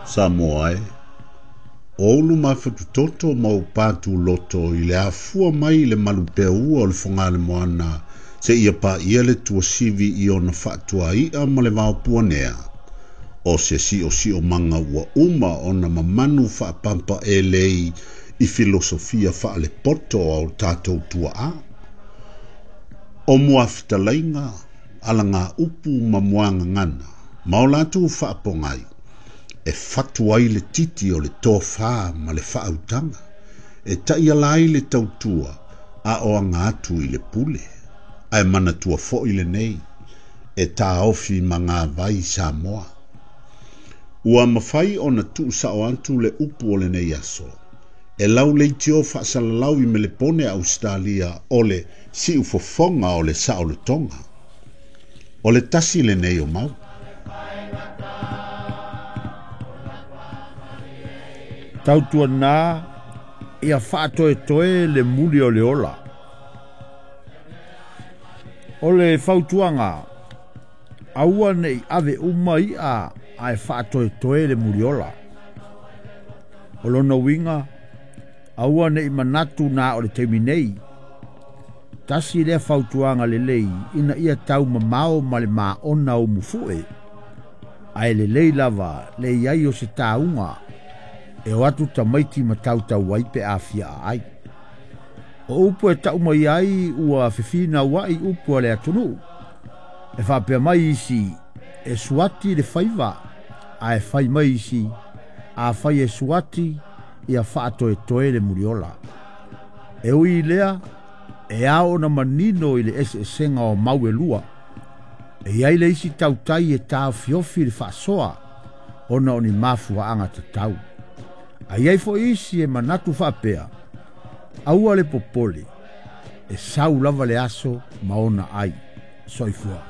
Samoa e, o ou luma fatutoto ma ou pātūloto i le afua mai i le malupeaua o le Fogaalemoana seia paia le tuasivi i ona faatuai'a ma le vaopuanea, o se siosiomaga ua uma ona mamanu faapampaelei i filosofia faalepoto a o tatou tuaa. O muafetalaiga, alagaupu ma muagagana, ma o latou faapogai, e fatu ai le titi o le tofā ma le faautaga, e taiala ai le tautua a o aga atu i le pule. Ae manatua foi lenei, e taofi magavai Samoa. Ua mafai ona tuusao atu le upu o lenei aso, e lau leitio faasalalau i Melepone Ausetalia o le siufofoga o le saolotoga. O le tasi lenei o mau. Tautuana ia faatoetoe le muli o le ola. O le fautuaga, aua nei ave uma i'a ae faatoetoe le muliola. O lona uiga, aua nei manatu na o le taimi nei. Tasi lea fautuaga lelei ina ia taumamao ma le maona o mufu'e, ae lelei lava le i ai o se tauga e o atu tamaiti ma tautau ai pe afia'a ai. O upu e ta'u mai ai ua fefinaua'i upu a le atunuu. E faapea mai isi e suati le faiva, ae fai mai isi afai e suati ia faatoetoe le muliola. E ui i lea, e ao ona manino i le eseesega o mau e lua. E i ai le isi tautai e taofiofi le faasoa ona o ni mafuaaga tatau. Ae i ai foi isi e manatu faapea, aua le popole, e sau lava le aso ma ona ai. Soifua.